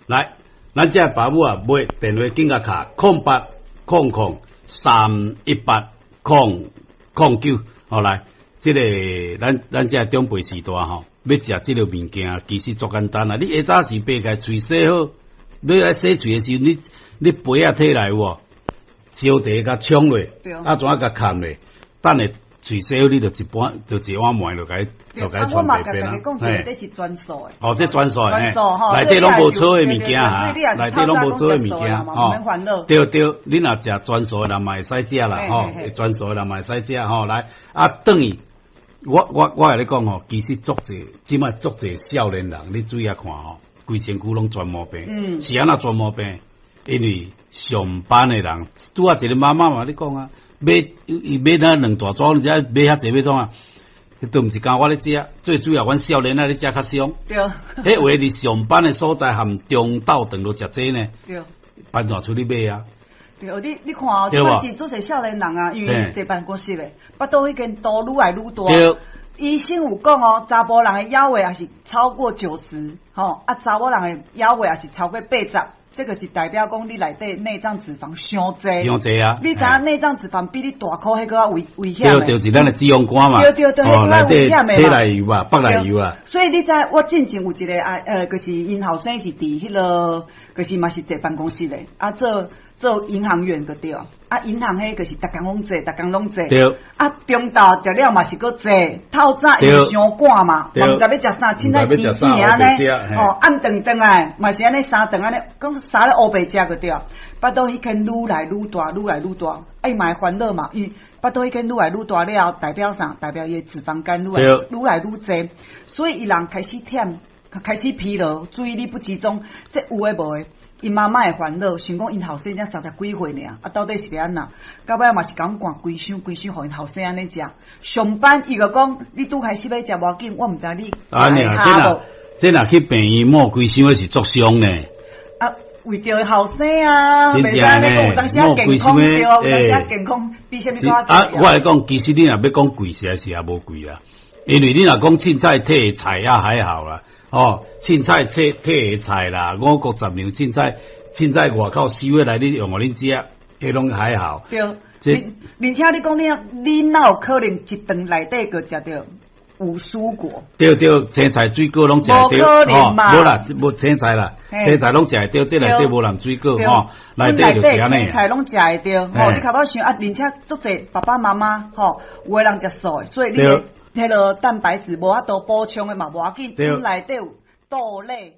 來，咱這爸母啊，買電話緊共敲0800318009，好來，這个咱這長輩時代吼，欲食這个物件，其實足簡單啦。你下早時爬起來，喙洗好，你來洗喙的時陣，你杯仔提來有無？燒茶共沖落，啊怎共崁落？等下喙洗好，你就一般就一碗糜就共伊我嘛傳白便共大家講一個，這是全素的。哦，這全素的，全素吼，內底攏無草的物件哈，內底攏無草的物件吼。免煩惱。對對，你若食全素的人嘛會使食啦，吼，全素的人嘛會使食吼。來，啊，轉去，我共你講吼，其實足濟，這擺足濟少年人，你注意看吼，規身軀攏全毛病，是按怎全毛病？因為上班的人，拄仔一个媽媽嘛，你講啊，買伊買那兩大組，你知買遐濟欲創啊？都毋是干我咧食，最主要阮少年仔咧食較傷。彼話佇上班的所在含中晝頓都食這呢。班怎出去買啊？對，你看哦，這擺足濟少年人啊，因為坐辦公室的，腹肚彼間肚愈來愈大。醫生有講哦，查埔人的腰圍也是超過90，吼啊，查某人的腰圍也是超過80。這個是代表講你內底內臟脂肪傷濟，傷濟啊！你知影內臟脂肪比你大箍彼閣較危險。對，就是咱的脂肪肝嘛。對對對，彼閣較危險的嘛。體內油啊，腹內油啊。所以你知我進前有一个啊，就是𪜶後生是佇彼个，就是嘛是坐辦公室的，啊做銀行員就對。啊，銀行彼就是逐工攏坐，逐工攏坐。啊，中晝食了嘛是閣坐，透早因為傷趕嘛，嘛毋知欲食啥，凊彩煎煎按呢，吼，暗頓轉來嘛是按呢三頓按呢，講啥咧烏白食就對。腹肚彼間愈來愈大，愈來愈大，啊伊嘛會煩惱嘛，伊腹肚彼間愈來愈大了後，代表啥？代表伊的脂肪肝愈來愈濟，所以伊人開始忝，開始疲勞，注意力不集中，這有的無的。𪜶媽媽會煩惱，想講𪜶後生才三十幾歲爾，啊，到底是欲按怎？到尾嘛是共阮灌規箱規箱，予𪜶後生按呢食。上班伊就講，你拄開始欲食無要緊，我毋知你食會下無。這若去病院抹規箱，彼是足傷呢。啊，為著後生啊，袂使按呢講，有當時仔健康對，有當時仔健康比啥物閣較啊，我來講，其實你若欲講貴，實在是也無貴啦。因為你若講凊彩提菜也還好啦。哦，凊彩切提的菜啦，五穀雜糧凊彩凊彩外口收回來，你用予恁食，彼攏還好。對，而且你講你哪有可能一頓內底閣食著有蔬果？對對，青菜水果攏食會著，吼，無啦，無青菜啦，青菜攏食會著，這內底無含水果吼，內底就是按呢。青菜攏食會著，吼，你頭拄想啊，而且足濟爸爸媽媽吼，有的人食素的，所以你彼个蛋白質無法度補充的嘛，無要緊，內底有豆類。